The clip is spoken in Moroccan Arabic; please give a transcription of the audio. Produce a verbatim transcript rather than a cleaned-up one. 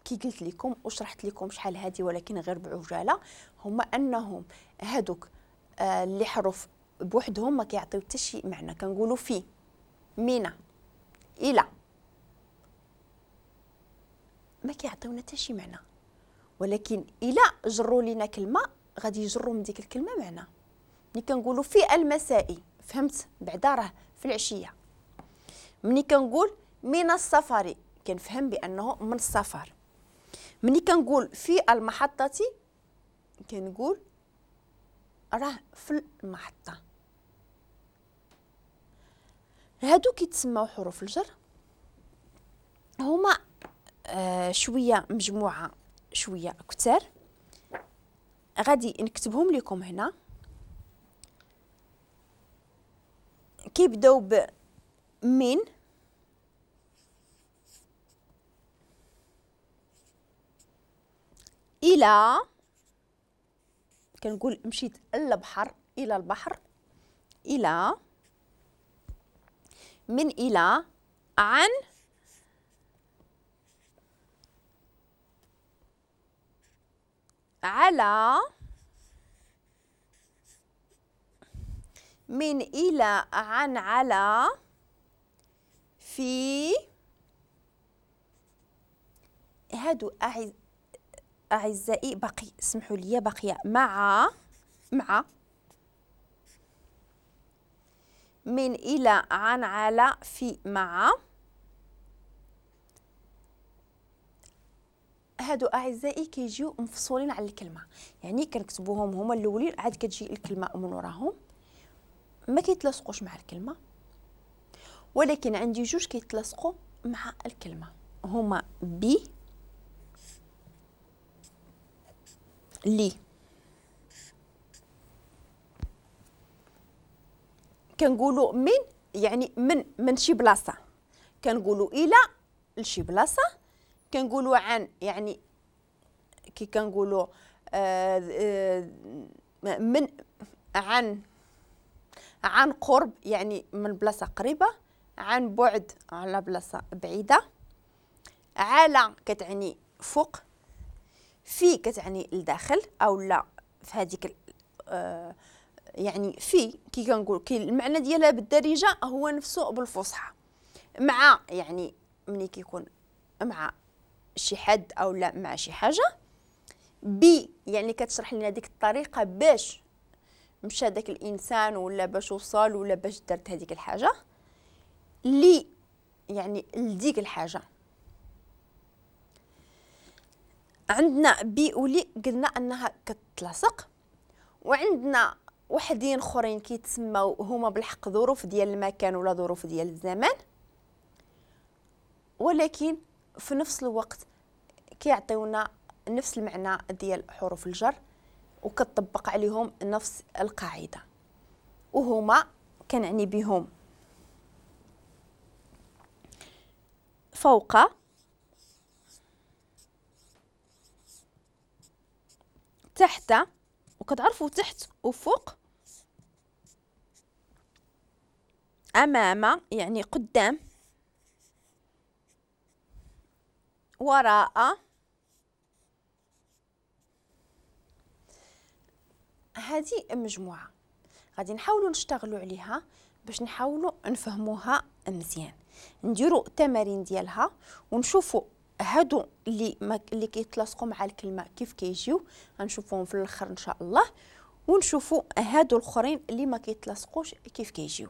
كي قلت لكم وشرحت لكم شحال هادي ولكن غير بعجاله، هما انهم هادوك آه اللي حروف بوحدهم ما كيعطيو حتى شي معنى. كنقولوا في، مينا، الى، ما كيعطيونا حتى شي معنى، ولكن الى جروا لينا كلمة غادي يجروا من ديك الكلمة معنى. ملي كنقولوا في المساء فهمت بعدا راه في العشية. ملي كنقول من السفر كنفهم بانه من السفر. ملي كنقول في المحطة كنقول راه في المحطة. هادو كيتسماو حروف الجر، هما آه شوية مجموعة شوية كتار، غادي نكتبهم لكم هنا. كيبداو ب من، الى، كنقول مشيت للبحر، الى البحر، الى، من الى، عن، على، من إلى، عن، على، في. هادو أعز... أعزائي باقي، اسمحوا لي، باقية مع، مع، من إلى، عن، على، في، مع. هادو أعزائي كيجيو مفصولين على الكلمة، يعني كنكتبوهم هما الأولين عاد كتجي الكلمة من وراهم، ما كيتلاصقوش مع الكلمة. ولكن عندي جوج كيتلاصقوا مع الكلمة، هما بي لي. كنقولوا من يعني من من شي بلاصة، كنقولوا الى لشي بلاصة، كنقولوا عن يعني كي كنقولوا آه آه من عن، عن قرب يعني من بلاصة قريبه، عن بعد على بلاصة بعيدة، على كتعني فوق، في كتعني لداخل او لا في هذيك آه يعني في كي كنقول كي المعنى ديالها بالدارجة هو نفسه بالفصحى. مع يعني ملي كيكون مع شي حد او لا مع شي حاجة. بي يعني كتشرح لنا ديك الطريقة باش مشى داك الانسان ولا باش وصل ولا باش درت هذيك الحاجة. لي يعني لديك الحاجة. عندنا بي ولي قلنا انها كتلاصق، وعندنا وحدين اخرين كيتسماو هما بالحق ظروف ديال المكان ولا ظروف ديال الزمان، ولكن في نفس الوقت كيعطيونا نفس المعنى ديال حروف الجر وكتطبق عليهم نفس القاعدة، وهما كنعني بهم فوق، تحت، وكتعرفوا تحت وفوق، أمام يعني قدام، وراء. هذه مجموعة غادي نحاولوا نشتغلوا عليها باش نحاولوا نفهموها مزيان، نديروا التمارين ديالها ونشوفوا هادو اللي ما اللي كيتلاصقوا مع الكلمة كيف كيجيو، غنشوفوهم في الاخر ان شاء الله، ونشوفوا هادو الاخرين اللي ما كيتلاصقوش كيف كيجيو.